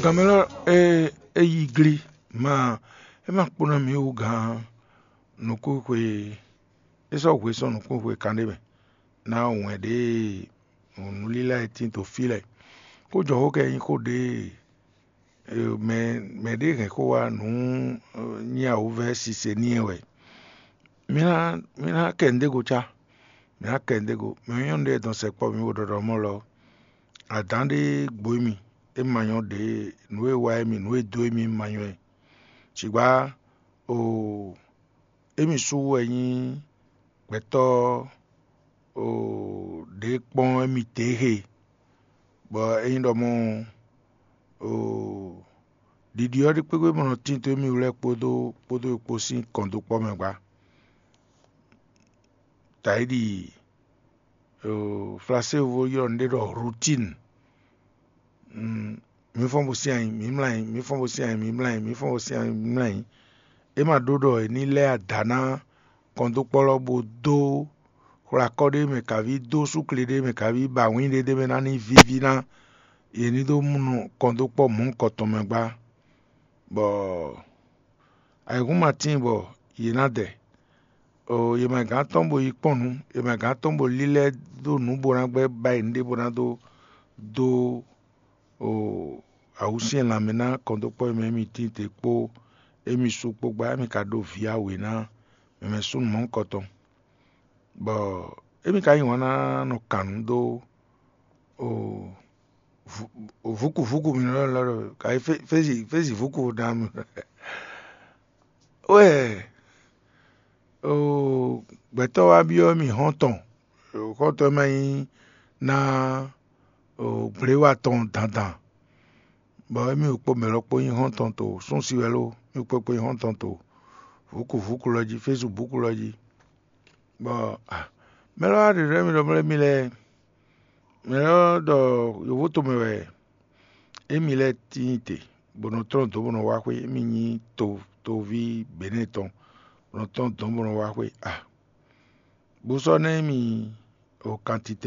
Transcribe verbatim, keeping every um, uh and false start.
Kanmɛlɔ e e yi gli ma, é ma kpó ná mǐ wú gǎn nukúnxwe, é sɔ́ hwe sɔ́ nukúnxwe kanɖé mɛ ná wɛn ɖě nǔlílá e tín dó fí lɛ́ɛ. Xó jɔ xó kɛ nyí xó ɖě mɛ mɛ ɖě hɛn xó wá nǔ nyí awǔvɛ́ sise n'i wɛ. Mi ná mi ná kɛ nǔɖé go cá, mi ná kɛ nǔɖé go. Mɛ nyɔ́nu ɖé dɔn sɛkpɔ́ mi wo ɖɔɖɔ mɔ lɔ, adǎn ɖé gbo mì, é ma nyɔ́ ɖě, nǔ e wa émì, nǔ e dó émì ma nyɔ́ ɛ. Cǐgbá o émì sú wɛ nyí gbɛtɔ́ o ɖě kpɔ́n émì tě he, bɔ é nyí ɖɔ mɔ o ɖiɖi ɔ́ ɖi kpékpé bɔ nɔ tín dó émì wlɛ́ kpódó kpódó kpó sín kɔn dó kpɔ́ mɛ gbá. Tayi ɖi Flasévo ylɔ́ nǔɖé ɖɔ routine. Mǐ fɔ́n bo sín ayi, mǐ mlá ayi, mǐ fɔ́n bo sín ayi, mǐ mlá ayi, mǐ fɔ́n bo sín ayi, mǐ mlá ayi. É ma ɖó ɖɔ è ní lɛ́ ada ná kɔndókpɔ́lɔ́ bó dó xwlakɔ́ ɖé mɛ kaví, dó súkle ɖé mɛ kaví, ba wǐn ɖé ɖé mɛ ná ní víví ná yě ní dó mú nú kɔndókpɔ́ mɔ̌hunkɔ tɔn mɛ gbá, bɔ ayǐhúnmatín bɔ yě ná dɛ. Yě mɛ gǎn tɔn bo yi kpɔ́n nǔ, yě mɛ gǎn tɔn bo lílɛ́ dó nǔ bó ná gbɛ́ báyìí nǔɖé bó ná dó dó awǔsyɛ́n lanmɛ ná kɔndókpɔ́ e mɛ émí tín te kpó émí sú kpó gbá, émí ka ɖó vǐ awě ná mɛ mɛ súnnu mɔ̌hunkɔ tɔn, bɔ émí ka yí wǎn ná nɔ kan nǔ dó vǔkuvǔku mi nɔ lɔ ka yi fézi fézi vǔku ná mi wɛ gbɛtɔ́ wá byɔ́ mì xɔ́ntɔn, xɔ́ntɔn e ma nyí ná gbléwa tɔn dandan, bɔ émí kpó mɛ lɔ kpó nyí xɔ́ntɔn to súnsi wɛ ló, mí kpó kpó nyí xɔ́ntɔn to vǔkuvǔku lɔ jí, fésibúku lɔ jí, bɔ mɛ lɔ wá ɖiɖɔ émí ɖɔ mlɛ́ mì lɛ́ɛ, mɛ lɔ ɖɔ yǒvó tomɛ wɛ émí lɛ́ɛ tíin te, bó nɔ tlɔ́n dǒ bó nɔ wá xwé, émí nyí to toví Benɛ́ɛ tɔn, bó nɔ tlɔ́n dǒ bó nɔ wá xwé a bó sɔ́ ná émí o kantitɛ